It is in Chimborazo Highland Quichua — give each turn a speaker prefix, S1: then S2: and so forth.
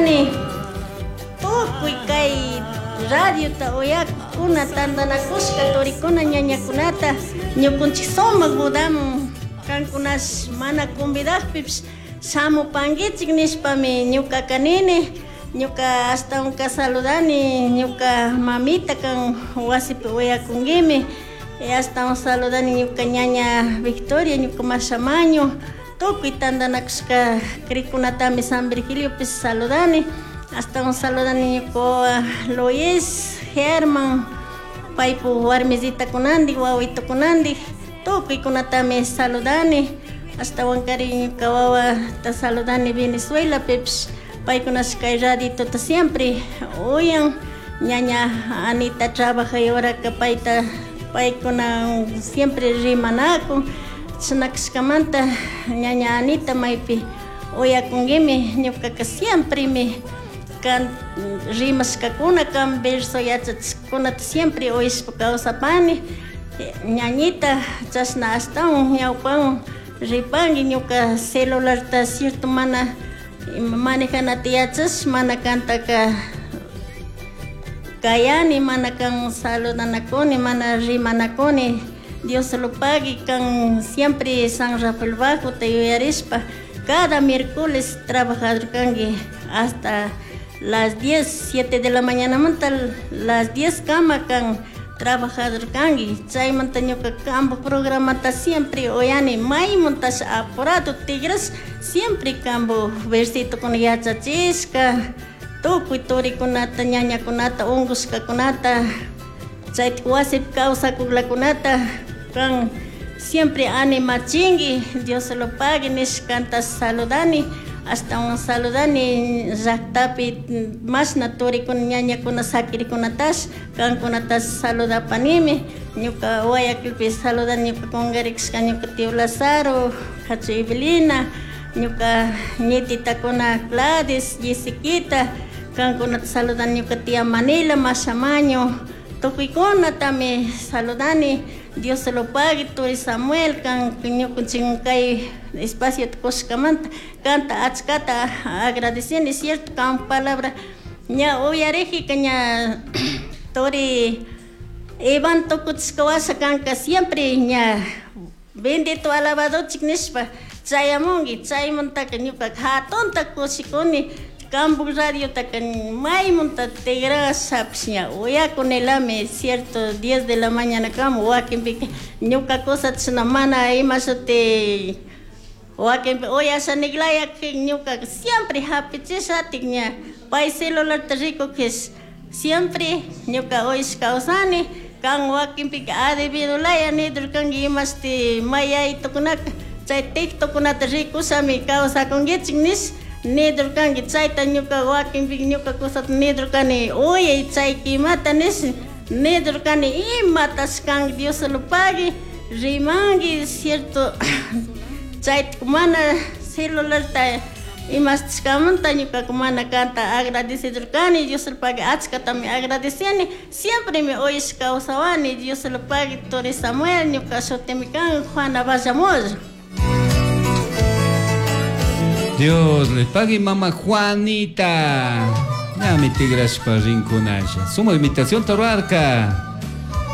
S1: Saludani tukuy kay radiota uyakuna tantanakushka turikuna ñañakunata ñukunchik sumak bodaman kankunash mana convidakpipish shamupankichik nishpami ñukaka nini. Ñuka ashtawanka saludani ñuka mamita kan wasipi uyakunkimi, ashtawan saludani ñuka ñaña Victoria, ñuka mashamaño, tukuy tantanakushka crikunatami San Virgiliopi saludani, ashtawan saludani ñuka wawa Luis, German, paypuk warmisitakunandik, wawitukunandik, tukuykunatami saludani, ashtawankari ñuka wawata saludani Venezuelapipish, paykunash kay raditota siempre uyan, ñaña Anita trabajay horaka payta paykuna siempre rimanakun, chashna kashkamanta ñaña Anita maypi uyakunkimi, ñukaka siempremi kan rimashkakuna kan verso yachachishkakunata siempre uyashpa kawsapani, ñañita chashna ashtawan ñawpawan ripanki ñuka celularta cierto mana manejanata yachash mana kantaka kayani, mana kan saludanakuni, mana rimanakuni, Dios lo pague kan siempre San Rafael Bajo te yuyarishpa cada miércoles trabajador kanki hasta las 10, 7 de la mañana manta las 10 kama kan trabajador kanki, chaymanta ñuka kampo programata siempre uyani maymuntash apurado tigras siempre kampo versito kuna yachachishka tukuy turikunata ñañakunata unkushkakunata chaytik wasipi kawsakuklakunata kan siempre animachinki Dios lo pague nishkanta saludani, ashtawan saludani llaktapi mashna turikuna ñañakuna sakirikunatash kankunatash saludapanimi, ñuka Guayaquilpi saludani ñuka kungarikashka ñuka tío Lazaro, Hachu Evelina, ñuka ñititakuna Gladys, Jessiquita, kankunata saludani ñuka tía Manila, Mashamaño, tukuykunatami saludani, Dios se lo pague, turi Samuel, kan ñukunchik kay espacio kushkamanta, kanta achkata agradeceni, cierto, kan palabra ña uyarijika ña turi Iván tukuchishka washa kanka siempre ña bendito alabadochik nishpa chayamunki, chaymantaka ñukaka hatunta kushikuni, Kampu radiotaka maymunta tigrashapish ña uyakunilami, cierto, 10 de la mañana kama wakinpika ñuka cosata mana ima shuti wakinpi uyashaniklaya ñuka siempre hapichishatik ña pay celularta rikukish siempre ñuka uyash kawsani, kan wakinpika adevidolaya nidurkanki imashti mayaytukunaka chay TikTokkunata rikushami kawsakunkichik nish nidurkanki, chayta ñuka wakinpika ñuka cosata nidurkani uyay chay kimata nish nidurkani imatash kanki Dios lo pague rimanki cierto chayta mana celularta imashtiskamanta ñukaka mana kanta agradecedurkani, Dios lo pague achkatami agradeceni, siempremi uyash kawsawani, Dios lo pague turi Samuel, ñuka shutimi kan Juana Vallamor.
S2: Dios le pague, mamá Juanita. Ya mi tigrashpa rinkunalla. Suma invitación taruarca.